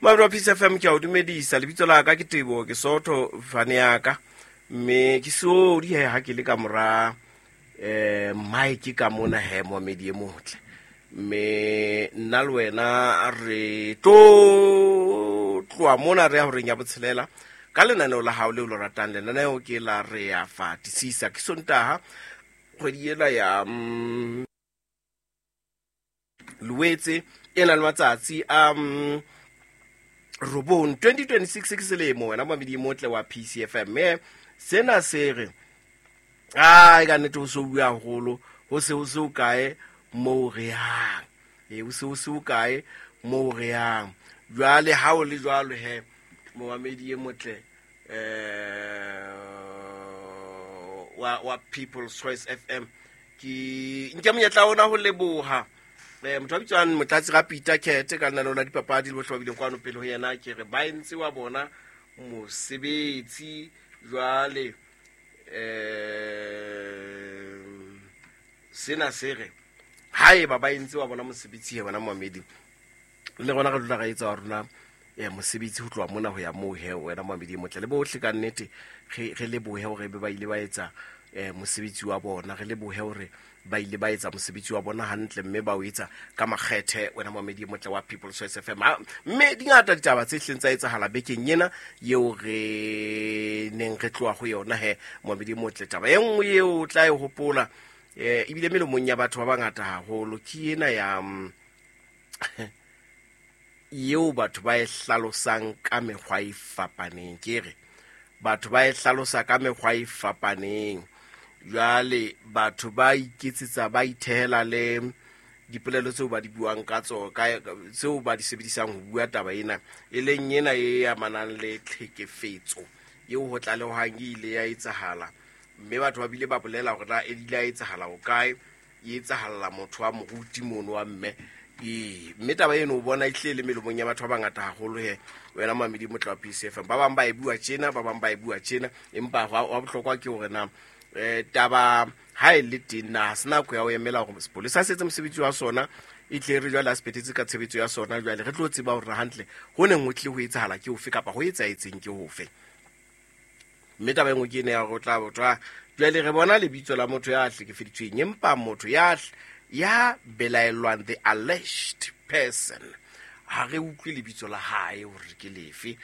Mabro Peace FM, ke a o dumedisa. Lebitso la ka ke Tebo, ke Sotho fane ya ka, mme ke sodi he ha ke le ka mora mike ka mona he, moamedi e motle. Mme nna le wena re tlo tloa mona re ya horeng ya botshelela ka lenaneo la hao leo le ratang. Lenaneo ke la Re Ya Fatisisa. Ke Sontaha, kgwedi ela ya Loetse, e na le matsatsi a 9, 2026 ke selemo, wena mamedi motle wa PCFM. Mme sena se re ai ka nnete ho se bua haholo, ho se ho se o kae moo re yang, e ho se ho se o kae moo re yang. Jwale ha o le jwalo he, momamedi e motle wa People's Choice FM, ke nke monyetla ona ho leboha motho a bitswang Motlatsi ga Peter Kete ka lenaneo la dipapadi le bohle ba bileng kwano pele ho yena. Ke re ba entse wa bona mosebetsi. Jwale sena se re haeba ba entse wa bona mosebetsi he, bona momamedi, le rona re dula ra etsa wa rona mosebetsi ho tloha mona ho ya moo he. Wena moamedi e motle le bohle, ka nnete re lebohe hore be ba ile ba etsa mosebetsi wa bona. Re lebohe hore ba ile ba etsa mosebetsi wa bona hantle, mme ba o etsa ka makgethe, wena moamedi e motle wa People's Choice FM. Mme di ngata ditaba tse hleng tsa etsahala bekeng ena eo re neng re tloha ho yona he, moamedi e motle. Taba e nngwe eo o tla e hopola, ebile melomong ya batho ba bangata haholo, ke ena ya eo batho ba e hlalosang ka mekgwa e fapaneng. Ke re batho ba e hlalosa ka mekgwa e fapaneng. Jwale batho ba iketsetsa, ba ithehela le dipolelo tseo ba di buang ka tsona, tseo ba di sebedisang ho bua taba ena, e leng ena e amanang le tlhekefetso eo ho tlalehwang e ile ya etsahala. Mme batho ba bile ba bolela hore na e ile ya etsahala ho kae, e etsahalla motho wa moruti mono wa mme. Ee, mme taba eno o bona e tlile le melomong ya batho ba bangata haholo he, wena mamedi motla wa PCFM. Ba bang ba e bua tjena, ba bang ba e bua tjena, empa wa bohlokwa ke hore na taba ha e le teng, na ha se nako ya ho emela hore sepolesa se etse mosebetsi wa sona, e tle re jwale a se phethetse ka tshebetso ya sona, jwale re tlo tseba hore hantle ho neng ho tlile ho etsahala ke ofe, kapa ho etsahetseng ke hofe? Mme taba e nngwe ke ene ya hore o tla bothwa jwale re bona lebitso la motho ya hlekefeditsweng, empa motho ya belaellwang, the alleged person, ha re utlwe lebitso la hae hore ke lefe.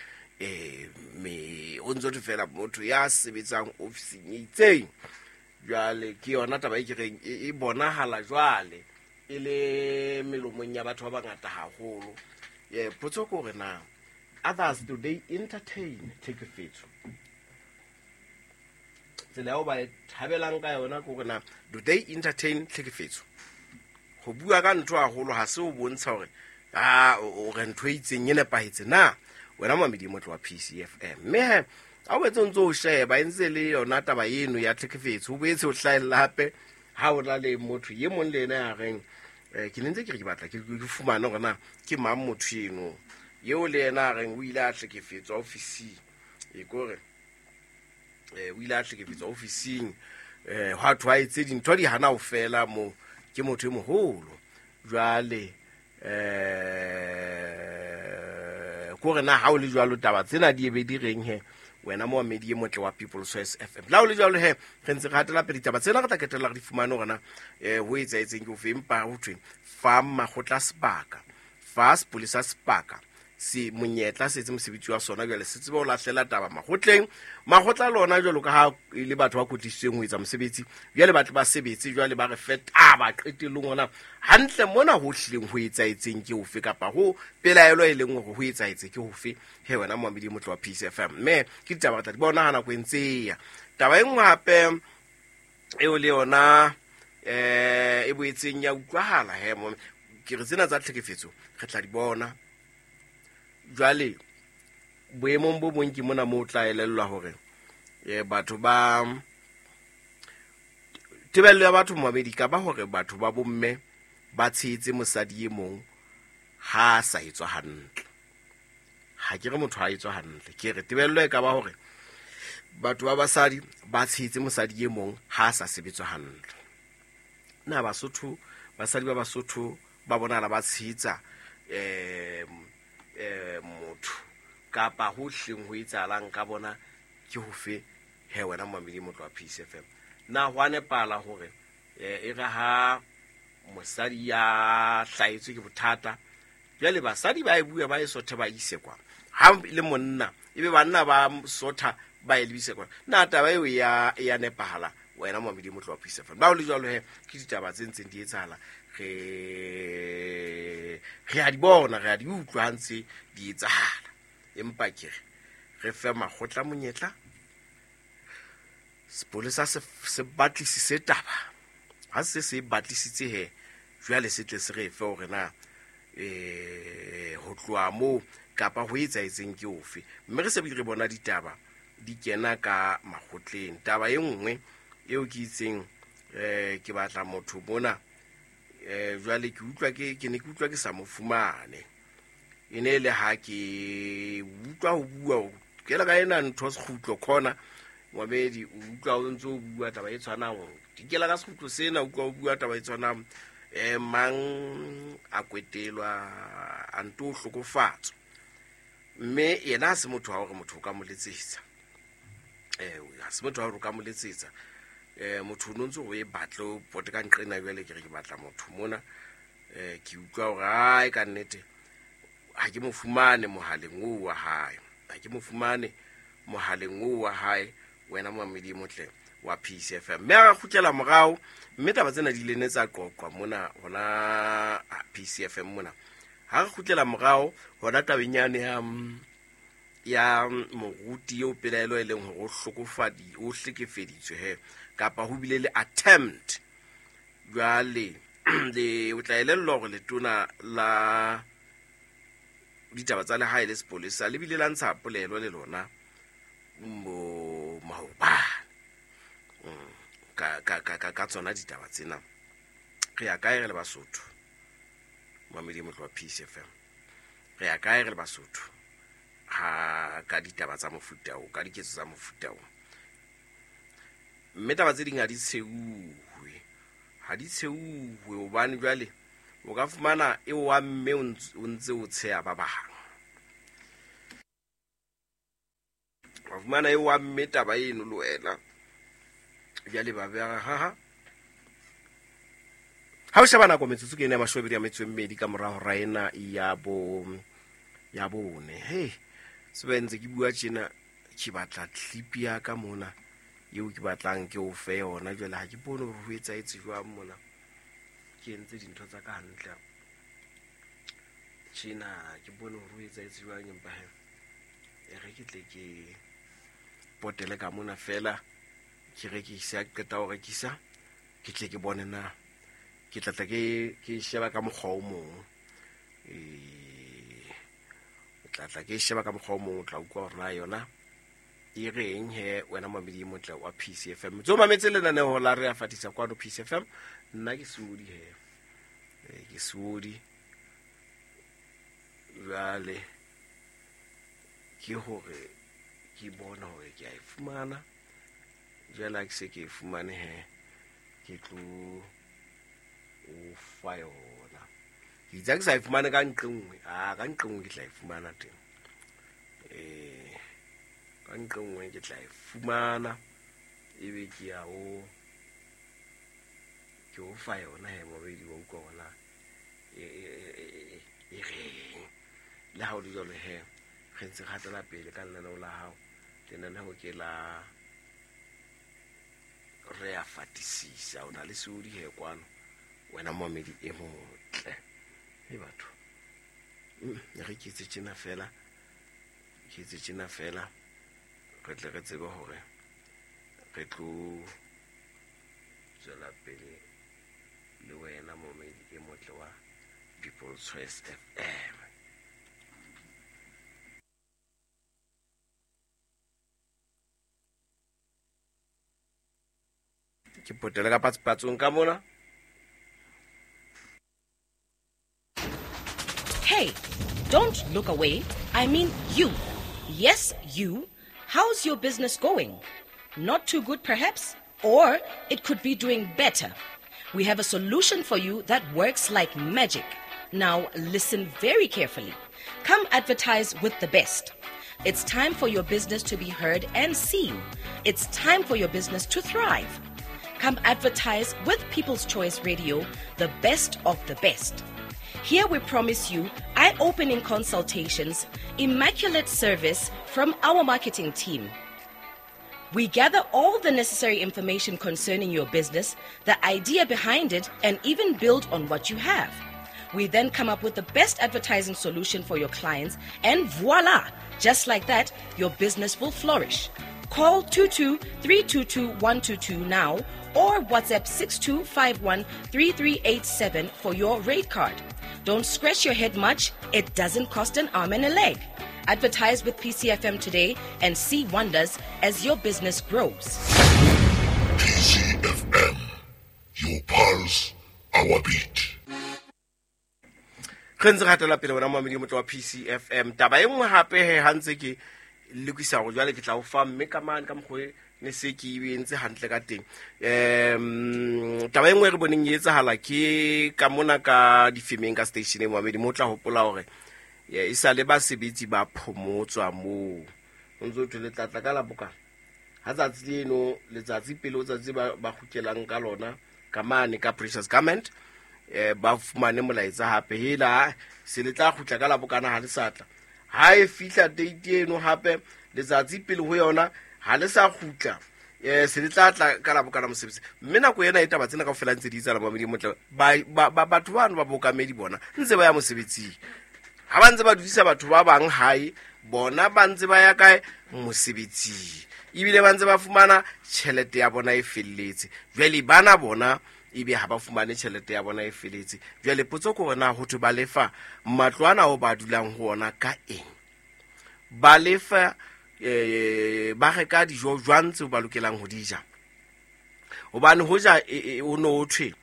Me o ntse thwe fela motho ya sebetsang ofising e itseng. Jwale ke yona taba e ke reng e bonahala jwale e le melomong ya batho ba bangata haholo. Potso ke hore na others, do they entertain tlhekefetso tsela eo ba e thabelang ka yona? Ke hore na do they entertain tlhekefetso? Ho bua ka ntho haholo ha se o bontsha hore a o re ntho e itseng e nepahetse na, wena mamedi motle wa PCFM. Mme he ha o boetse o ntse o sheba, e ntse le yona taba eno ya tlhekefetso, o boetse o hlahella hape ha o na le motho e mong le ena ya reng ke ne ntse ke re ke batla ke fumane hore na ke mang motho eno eo le yena a reng o ile a hlekefetswa ofising. E kore o ile a hlekefetswa ofising, hwa thwe a etse dintho di hana ho fela moo, ke motho e moholo. Jwale kore na ha o le jwalo taba tsena di ebe di reng he, wena moamedi e motle wa People's Choice FM? La o le jwalo he, re ntse re hatela pele ditaba tsena, re tla ketella re di fumane hore na ho etsahetseng ke ofe. Empa ho thwe fa makgotla sebaka, fa sepolesa sebaka, se monyetla se etse mosebetsi wa sona, jwale se tsebe ho lahlela taba makgotleng. Makgotla lona, jwalo ka ha e le batho ba kwetlisitsweng ho etsa mosebetsi, jwale ba tle ba sebetse, jwale ba re fe taba qetellong hona hantle mona ho hlileng ho etsahetseng ke ofe, kapa ho pelaelo e leng hore ho etsahetse ke hofe he, wena moamedi motle wa Peace FM. Mme ke ditaba re tla di bona ha nako e ntse e ya. Taba e nngwe hape eo le yona e boetseng ya utlwahala he, mo ke re tsena tsa tlhekefetso re tla di bona jwale boemong bo bong. Ke mona moo o tla elellwa hore batho ba tebello ya batho, momamedi, ka ba hore batho ba bomme ba tshehetse mosadi e mong ha a sa etswa hantle. Ha ke re motho ha etswa hantle, ke re tebello e ka ba hore batho ba basadi ba tshehetse mosadi e mong ha a sa sebetswa hantle. Na Basotho, basadi ba Basotho ba bonahala ba tshehetsa Kapa ho hleng ho etsahalang ka bona ke hofe he wena momamedi motlo wa Peace FM? Na ho a nepala hore e re ha mosadi ya hlahetswe ke bothata, jwale basadi ba e bua ba e sothe ba ise kwa, ha le monna ebe banna ba sotha ba e lebise kwa? Na taba eo ya ya nepahala wena momamedi motlo wa Peace FM? Ba ho le jwalo he, ke ditaba tse ntseng di etsahala, re re a di bona, re a di utlwa ha ntse di etsahala. Empa ke re re fe makgotla monyetla, sepolesa se batlisise taba. Ha se se batlisitse he, jwale se tle se re fe hore na ho tloha moo kapa ho etsahetseng ke ofe. Mme re se bile re bona ditaba di kena ka makgotleng. Taba e nngwe eo ke itseng ke batla motho mona, jwale ke utlwa ke ne ke utlwa ke sa mo fumane. E ne le ha ke utlwa ho bua ke le ka ena ntho sekgutlo khona momamedi, o utlwa o ntse o bua taba e tshwanang, dikela ka sekgutlo sena, utlwa o bua taba e tshwanang, mang a kwetelwa a nto hlokofatswa. Mme yena ha se motho wa hore motho o ka mo letsetsa, ha se motho wa hore o ka mo letsetsa. Motho o no ntse o e batle o pote ka nqena, jwale ke re ke batla motho mona, ke utlwa hore ai ka nnete ha ke mo fumane mohaleng oo wa hae, ha ke mo fumane mohaleng oo wa hae wena momamedi motle wa Peace FM. Mme a kgutlela morao, mme taba tsena di ile ne tsa qoqwa mona hona Peace FM mona. Ha re kgutlela morao hona tabeng yane ya moruti eo pelaelo e leng hore o hlokofadi, o hlekefeditswe he, kapa ho bile le attempt. Jwale le o tla elellwa hore letona la ditaba tsa lehae le sepolesa le bile la ntsha polelo le lona mo maobane ka tsona ditaba tsena. Re ya kae re le Basotho? Mamedi motlo wa Peace FM. Re ya kae re le Basotho ha ka ditaba tsa mofuta o, ka diketso tsa mofuta o? Mme taba tse ding ha di tsheuwe, ha di tsheuwe hobane jwale o ka fumana e wa mme o ntse o tsheha ba bang. Wa fumana e wa mme taba eno le wena. Jwale ba beha ha ha o sheba nako metsotso ke ena ya 24 ka mora hora ena ya bone. Hey, se ba ntse ke bua tjena, ke batla clip ya ka mona eo ke batlang ke o fe yona. Jwale ha ke bone hore ho etsahetse jwang mona. Ke entse dintho tsa ka hantle tjena, ke bone hore ho etsahetse jwang, empa he e re ke tle ke potele ka mona fela, ke rekise, ha ke qeta ho rekisa ke tle ke bone na ke tla tla ke sheba ka mokgwa o mong. Tla tla ke sheba ka mokgwa o mong, o tla utlwa hore na yona e reng he wena momamedi motle wa Peace FM. Tso mametse lenaneo la Re a Fatisa kwano Peace FM. Nna ke Seodi he, ke Seodi. Jwale ke hore ke bona hore ke a e fumana. Jwale ha ke se ke e fumane he, ke tlo o fa yona. Ke itse ha ke sa e fumane ka nqe nngwe, ka nqe nngwe ke tla e fumana teng. Ka nqe nngwe ke tla e fumana, ebe ke ya o ke o fa yona he momamedi wa utlwa hore na e reng. Le ha ho le jwalo he, re ntse re hatela pele ka lenaneo la hao. Lenaneo ke la Re a Fatisisa. O na le Seodi he kwano wena momamedi e motle. He batho, re ke etse tjena fela, ke etse tjena fela, re tle re tsebe hore re tlo tswela pele le wena momamedi e motle wa People's Choice FM. Ke potele ka patspatsong ka mona. Hey, don't look away. I mean you. Yes, you. How's your business going? Not too good, perhaps? Or it could be doing better. We have a solution for you that works like magic. Now, listen very carefully. Come advertise with the best. It's time for your business to be heard and seen. It's time for your business to thrive. Come advertise with People's Choice Radio, the best of the best. Here we promise you eye opening consultations, immaculate service from our marketing team. We gather all the necessary information concerning your business, the idea behind it, and even build on what you have. We then come up with the best advertising solution for your clients, and voila! Just like that, your business will flourish. Call 22 322 122 now or WhatsApp 6251 3387 for your rate card. Don't scratch your head much, it doesn't cost an arm and a leg. Advertise with PCFM today and see wonders as your business grows. PCFM, your pulse, our beat. Re ntse re hatela pele wena momamedi o motle wa PCFM. Taba e nngwe hape he ha ntse ke lokisa hore jwale ke tla o fa mme ka mane ka mokgwa e ne se ke e entse hantle ka teng. Taba e nngwe e re boneng e etsahala ke ka mona ka difemeng ka station e momamedi mo tla hopola hore e sa le basebetsi ba phomotswa moo. O ntso thwe le tlatla ka la bokana. Ha tsatsi leno letsatsi pele o tsatsi ba kgutlelang ka lona ka mane ka Precious Garment ba fumane molaetsa hape hela se le tla kgutla ka la bokana ha le sa tla. Ha e fihla date eno hape letsatsi pele ho yona ha le sa kgutla se le tla tla ka la bokana mosebetsi. Mme nako ena e taba tsena kaofela ntse di etsahala momamedi motle batho bano ba bokamedi bona ntse ba ya mosebetsing. Ha ba ntse ba dudisa batho ba bang hae bona ba ntse ba ya kae mosebetsing ebile ba ntse ba fumana tjhelete ya bona e felletse. Jwale bana bona ebe ha ba fumane tjhelete ya bona e felletse. Jwale potso ke hore na ho thwe ba lefa matlo ana ao ba dulang ho ona ka eng? Ba lefa ba reka dijo jwang tseo ba lokelang ho di ja? Hobane hoja ho no ho thwe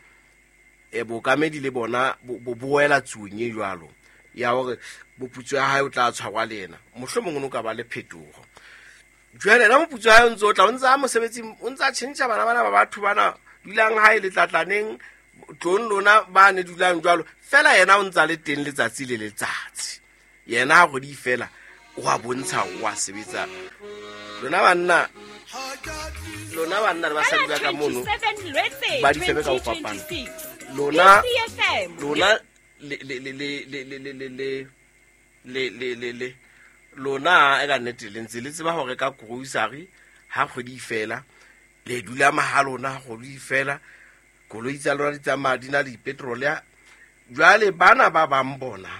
bokamedi le bona bo boela tsuong e jwalo ya hore moputso ya hae o tla tshwarwa le yena, mohlomong o no ka ba le phetoho. Jwale yena moputso ya hae o ntse o tla, o ntse a mosebetsing, o ntse a tjhentjha bana bana ba batho bana dulang hae letlatlaneng tlong lona ba ne dulang jwalo fela, yena o ntse a le teng letsatsi le letsatsi. Yena ha kgwedi fela o a bontsha o a sebetsa. Lona banna le basadi ba ka mono ba di febe ka ho fapana. Lona le le le le le le le le le le le le lona e ka nnete le ntse le tseba hore ka grocery ha kgwedi fela le dula mahalona ha kgwedi fela koloi tsa lona di tsamaya di na le petrol ya. Jwale bana ba bang bona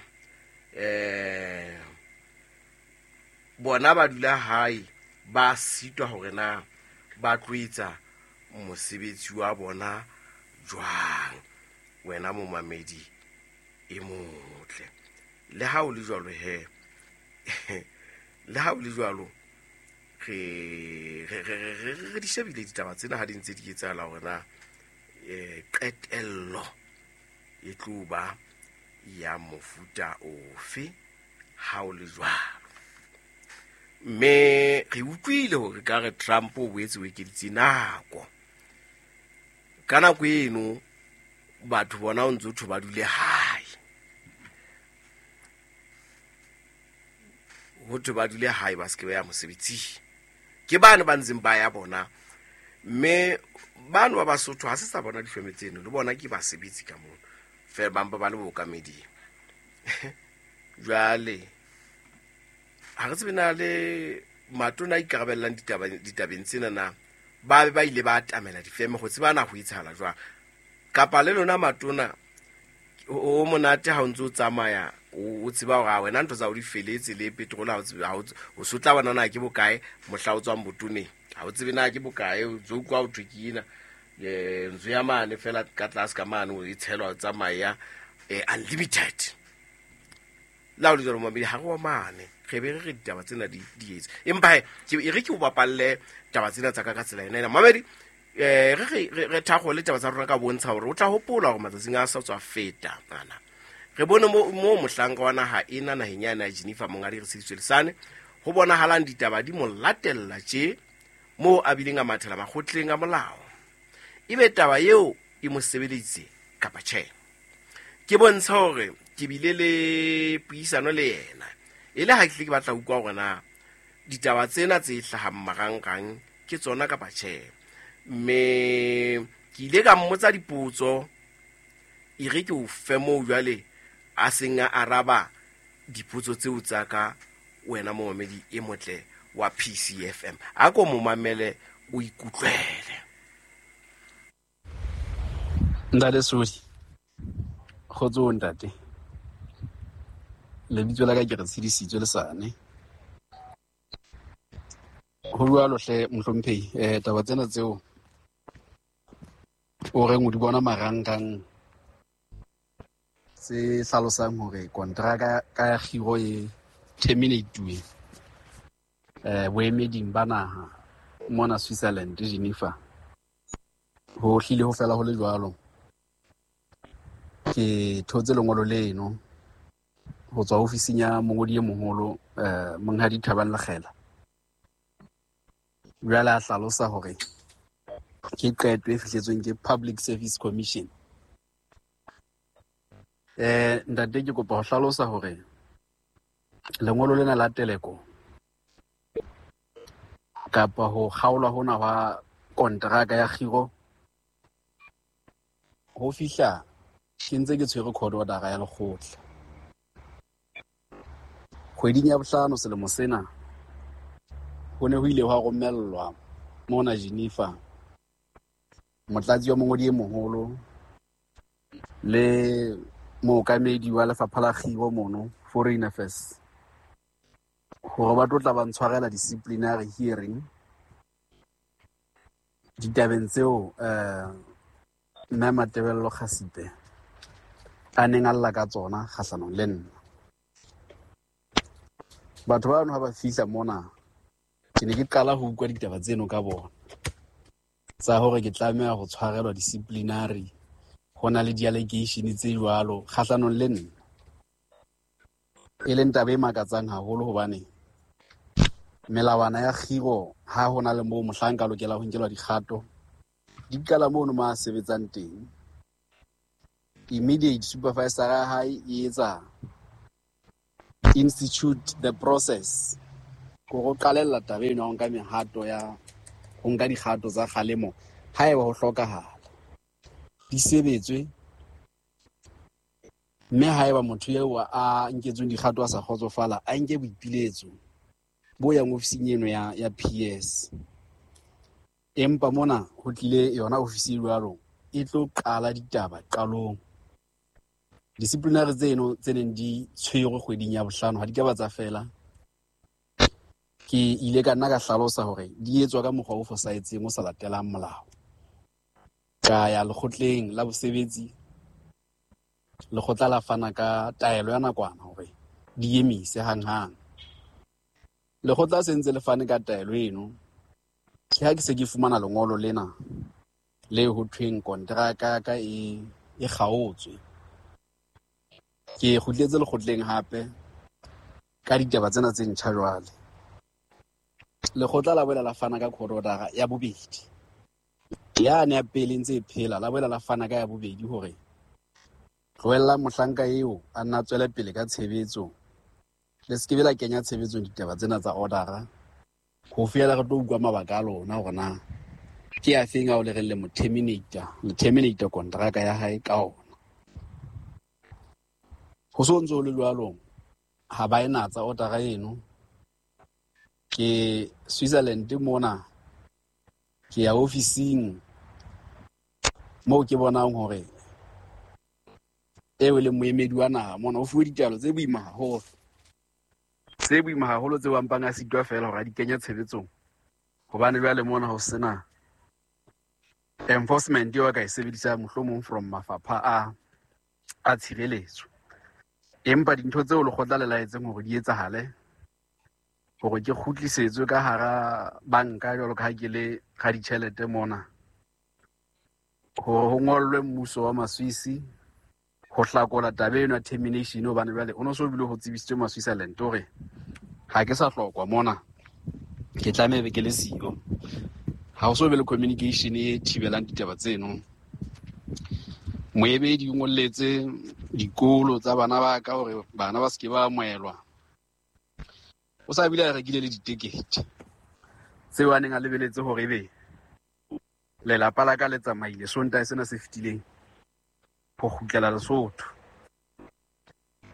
bona ba dula hae ba sitwa hore na ba tlo etsa mosebetsi wa bona jwang. Wena momamedi e motle, le ha o le jwalo he le ha o le jwalo re di shebile ditaba tsena ha di ntse di etsahala hore na qetello e tlo ba ya mofuta ofe ha o le jwalo. Mme re utlwile hore ka re Trump o boetse o ekeditse nako. Ka nako eno batho bona o ntse o thwe ba dule hae, ho thwe ba dule hae ba se ke ba ya mosebetsing. Ke bane ba ntseng ba ya bona, mme bano ba Basotho ha se sa bona difeme tseno le bona ke basebetsi ka mono fela ba mpa ba le bokameding. Jwale ha re tsebe na le matona a ikarabellang ditabeng tsena na ba be ba ile ba atamela difeme ho tseba na ho etsahala jwang, kapa le lona matona o monate ha o ntse o tsamaya o tseba hore wena ntho tsa o di feletse le petrol ha o tsebe ha o so tla bona na ke bokae mohla o tswang botoneng, ha o tsebe na ke bokae, o tso utlwa o thwe ke ena ntso ya mane fela ka tlase ka mane o e tshelwa o tsamaya unlimited. La o le jwalo momamedi ha re wa mane re be re re ditaba tsena di etse, empa he e re ke o bapalle taba tsena tsa ka ka tsela ena ena mamedi. Re thakgole taba tsa rona ka bontsha hore o tla hopola hore matsatsing a sa tswa feta ana re bone mo mohlanka wa naha ena naheng ya na Geneva Monghadi Retshediswe Lesane ho bonahalang ditaba di mo latella tje moo a bileng a mathela makgotleng a molao. Ebe taba eo e mo sebeleditse kapa tjhe? Ke bontsha hore ke bile le puisano le yena e le ha ke tle ke batla utlwa hore na Ditaba tsena tse hlahang marangrang ke tsona kapa tjhe. Mme ke ile ka mmotsa dipotso, e re ke o fe moo jwale a seng a araba dipotso tseo tsa ka, wena momamedi e motle wa PCFM. A ko mo mamele o ikutlwele. Ntate Sodi, kgotso ntate. Lebitso la ka ke re tshedisitswe lesane. Ho jwalo hle mohlomphehi, taba tsena tseo o reng o di bona marangrang tse hlalosang hore kontraka ka ya kgiro e terminate-uwe boemeding ba naha mona Switzerland, Geneva. Ho hlile ho fela ho le jwalo. Ke thotse lengolo leno ho tswa ofising ya mongodi e moholo, Monghadi Thabang Lekgela. Jwale a hlalosa hore ke qeto e fihletsweng ke Public Service Commission. Ntate, ke kopa ho hlalosa hore lengolo lena la teleko kapa ho kgaolwa hona hwa kontraka ya kgiro ho fihla ke ntse ke tshwere court order ya lekgotla. Kgweding ya bohlano selemo sena ho ne ho ile hwa romellwa mona Geneva motlatsi wa mongodi e moholo le mookamedi wa lefapha la kgiro mono Foreign Affairs hore ba tlo tla ba ntshwarela disciplinary hearing ditabeng tseo mme Matebello Kgasipe a neng a lla ka tsona kgahlanong le nna. Batho bano ha ba fihla mona ke ne ke qala ho utlwa ditaba tseno ka bona tsa hore ke tlameha ho tshwarelwa disciplinary, ho na le di-allegation tse jwalo kgahlanong le nna, e leng taba e makatsang haholo hobane melawana ya kgiro ha hona le moo mohlanka a lokela ho nkelwa dikgato di qala mono mo a sebetsang teng. Immediate supervisor ya hae e etsa institute the process hore o qalella taba eno ya ho nka mehato ya ho nka dikgato tsa kgalemo haeba ho hlokahala, di sebetswe. Mme haeba motho eo a nketsweng dikgato a sa kgotsofala, a nke boipiletso bo yang ofising eno ya PS. Empa mona ho tlile yona ofisi e jwalo e tlo qala ditaba qalong. Disciplinary tseno tse neng di tshwerwe kgweding ya bohlano ha di ka ba tsa fela. Ke ile ka nna ka hlalosa hore di etswa ka mokgwa o fosahetseng o sa latelang molao. Ka ya lekgotleng la bosebetsi, lekgotla la fana ka taelo ya nakwana hore di emise hanghang. Lekgotla se ntse le fane ka taelo eno, ke ha ke se ke fumana lengolo lena le ho thweng kontraka ka e kgaotswe. Ke kgutletse lekgotleng hape ka ditaba tsena tse ntjha jwale. Lekgotla la boela la fana ka court order ya bobedi. Yane ya pele ntse e phela, la boela la fana ka ya bobedi hore tlohella mohlanka eo a nna tswele pele ka tshebetso, le se ke be la kenya tshebetsong ditaba tsena tsa order ho fihlela re tlo utlwa mabaka a lona hore na ke a feng ao le reng le mo terminate, le terminate kontraka ya hae ka ona. Ho so ntse ho le jwalo, ha ba e natsa order eno. Ke Switzerland mona, ke ya ofising moo ke bonang hore eo e leng moemedi wa naha mona o fuwe ditaelo tse boima haholo, tse boima haholo tseo a mpang a sitwa feela hore a di kenye tshebetsong, hobane jwale mona ho sena enforcement eo a ka e sebedisang mohlomong from mafapha a tshireletso. Empa dintho tseo lekgotla le laetseng hore di etsahale, hore ke kgutlisetswe ka hara banka jwalo ka ha ke le raditjhelete mona, hore ho ngollwe mmuso wa Maswisi ho hlakola taba eno ya termination, hobane jwale o no so bile ho tsebisitswe ma-Switzerland hore ha ke sa hlokwa mona, ke tlameha be ke le siyo. Ha ho so be le communication e thibelang ditaba tseno. Moemedi o ngolletse dikolo tsa bana ba ka hore bana ba se ke ba amohelwa. O sa bile a rekile le ditekete tseo a neng a lebeletse hore ebe lelapa la ka le tsamaile Sontaha sena se fetileng ho kgutlela Lesotho.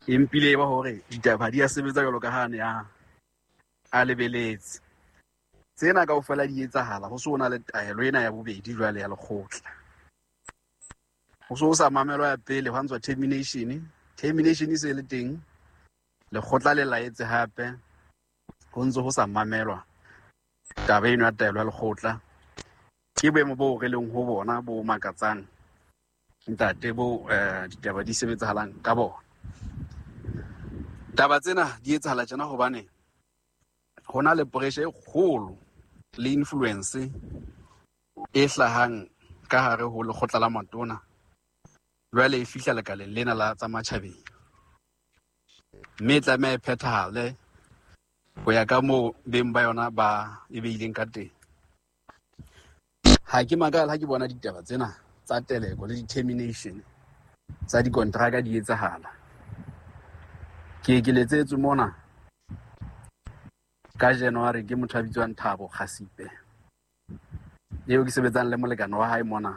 Empile e ba hore ditaba di a sebetsa jwalo ka ha ne a lebeletse. Tsena kaofela di etsahala ho se ho na le taelo ena ya bobedi jwale ya lekgotla. Ho se ho sa mamelwa ya pele hwa ntswa termination. Termination e se le teng, lekgotla le laetse hape ho ntse ho sa mamelwa taba eno ya taelo ya lekgotla. Ke boemo boo re leng ho bona bo makatsang ntate bo ditaba di sebetsahalang ka bona. Taba tsena di etsahala tjena hobane ho na le pressure e kgolo le influence e hlahang ka hare ho lekgotla la matona, jwale e fihla lekaleng lena la tsa matjhabeng, mme e tlameha e phethahale ho ya ka moo beng ba yona ba e beileng ka teng. Ha ke makala ha ke bona ditaba tsena tsa teleko le di-termination tsa dikontraka di etsahala. Ke letsetswe mona ka January ke motho a bitswang Thabo Kgasipe, eo ke sebetsang le molekane wa hae mona,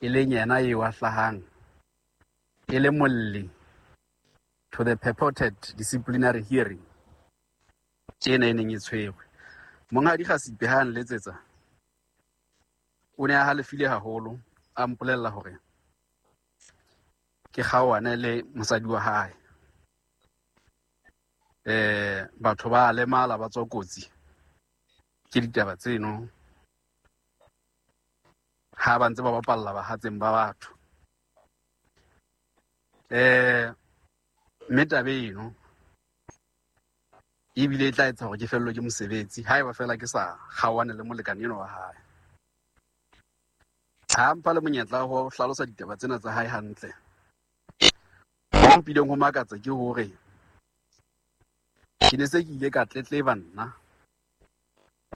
e leng yena eo a hlahang e le molli to the purported disciplinary hearing ena e neng e tshwerwe. Monghadi Kgasipe ha a nletsetsa, o ne a halefile haholo, a mpolella hore ke kgaohane le mosadi wa hae. Batho ba lemala ba tswa kotsi ke ditaba tseno ha ba ntse ba bapalla bahatseng ba batho. Mme taba eno ebile e tla etsa hore ke fellwe ke mosebetsi haeba fela ke sa kgaohane le molekane eno wa hae. Ha mpha le monyetla wa ho hlalosa ditaba tsena tsa hae hantle. Ho mpileng ho makatsa ke hore ke ne se ke ile ka tletleba nna,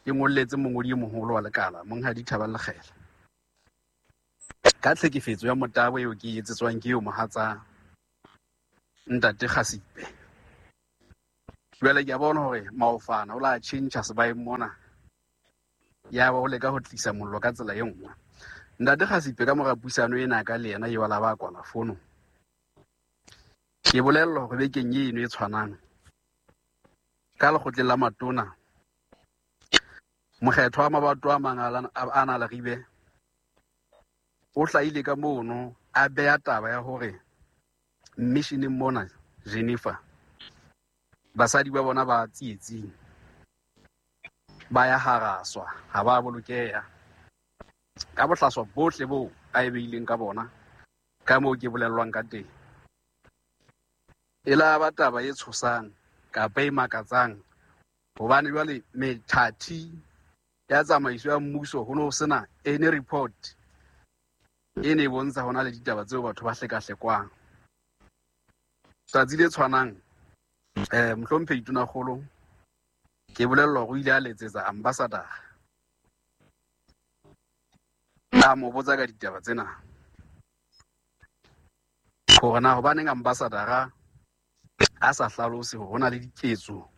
ke ngolletse mongodi e moholo wa lekala Monghadi Thabang Lekgela ka tlhekefetso ya motabo eo ke e etsetswang ke eo mohatsa ntate Kgasipe. Jwale ke a bona hore maofana o la tjhentjha sebaeng mona, ya ba o leka ho tlisa mollo ka tsela e nngwe. Ntate Kgasipe ka mora puisano ena ka le yena eo a la ba kwala fono, ke bolellwa hore bekeng eno e tshwanang ka lekgotleng la matona, mokgetho wa mabato a mang a na Leribe o hlahile ka mono a beha taba ya hore missioneng mona Geneva basadi ba bona ba tsietsing, ba ya haraswa, ha ba bolokeha ka bohlaswa bohle boo a e beileng ka bona ka moo ke bolellwang ka teng. E la ba taba e tshosang kapa e makatsang hobane jwale methati ya tsamaiso ya mmuso ho no sena any report e ne e bontsha hona le ditaba tseo batho ba hlekahlekwang. Tsatsi le tshwanang mohlomphehi Tonakgolo ke bolellwa hore o ile a letsetsa ambassador a mo botsa ka ditaba tsena hore na hobaneng ambassador a sa hlalose hore ho na le diketso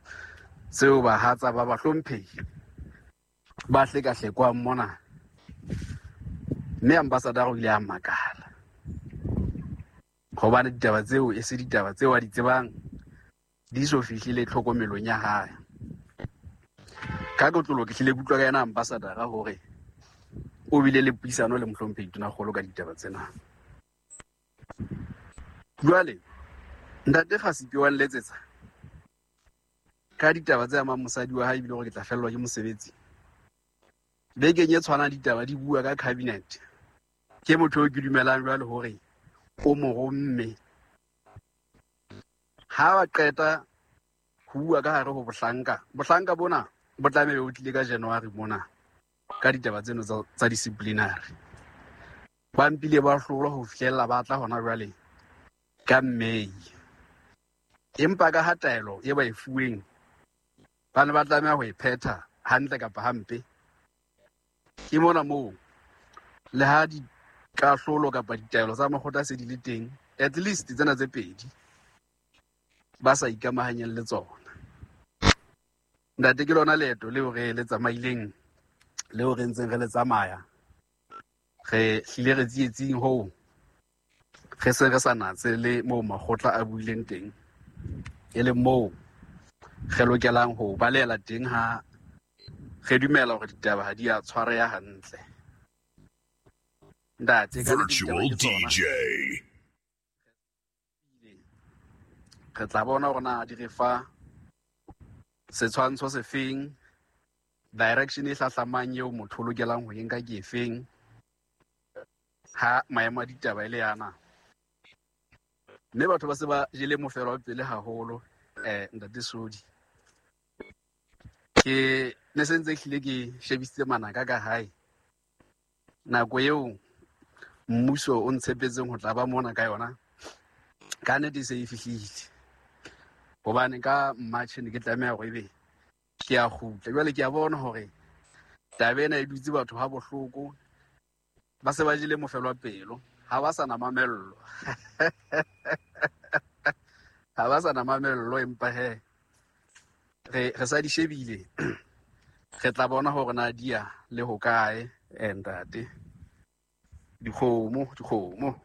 tseo bahatsa ba bahlomphehi ba hlekahlekwang mona. Mme ambassador o ile a makala hobane ditaba tseo e se ditaba tseo a di tsebang, di so fihlile tlhokomelong ya hae. Ka kotlolo ke hlile ke utlwa ka yena ambassador hore o bile le puisano le mohlomphehi Tonakgolo ka ditaba tsena. Jwale ntate Kgasipe wa nletsetsa ka ditaba tse amang mosadi wa hae ebile hore ke tla fellwa ke mosebetsi. Bekeng e tshwanang ditaba di bua ka cabinet. Ke motho eo ke dumelang jwale hore o mo romme. Ha ba qeta ho bua ka hare ho bohlanka, bohlanka bona bo tlameha bo tlile ka January mona ka ditaba tseno tsa disciplinary. Ba mpile ba hlolwa ho fihlella ba tla hona jwale ka May. Empa ka ha taelo e ba e fuweng ba ne ba tlameha ho e phetha hantle kapa hampe. Ke mona moo le ha dikahlolo kapa ditaelo tsa makgotla se di le teng, at least tsena tse pedi ba sa ikamahanyeng le tsona. Ntate, ke lona leeto leo re le tsamaileng, leo re ntseng re le tsamaya. Re hlile re tsietsing hoo, re se re sa natse le moo makgotla a buileng teng, e leng moo re lokelang ho balehela teng ha re dumela hore ditaba ha di a tshwareha hantle. Ntate, ka nnete ditaba Virtual ke tsona. DJ. Re tla bona hore na di re fa setshwantsho sefeng, direction e hlahlamang eo motho o lokelang ho e nka ke efeng ha maemo a ditaba e le yana. Mme batho ba se ba jele mofelo wa pele haholo, Ntate Sodi. Ke ne se ntse hlile ke shebisitse manaka ka hae. Nako eo mmuso o ntshepetseng ho tla ba mona ka yona, ka nnete e se e fihlile. Hobane ka March ne ke tlameha hore ebe ke a kgutla. Jwale ke a bona hore taba ena e dutse batho ha bohloko, ba se ba jele mofelo wa pelo, ha ba sa na mamello. Ha ba sa na mamello, empa he re sa di shebile. Re tla bona hore na di ya le hokae, ntate. Dikgomo, dikgomo.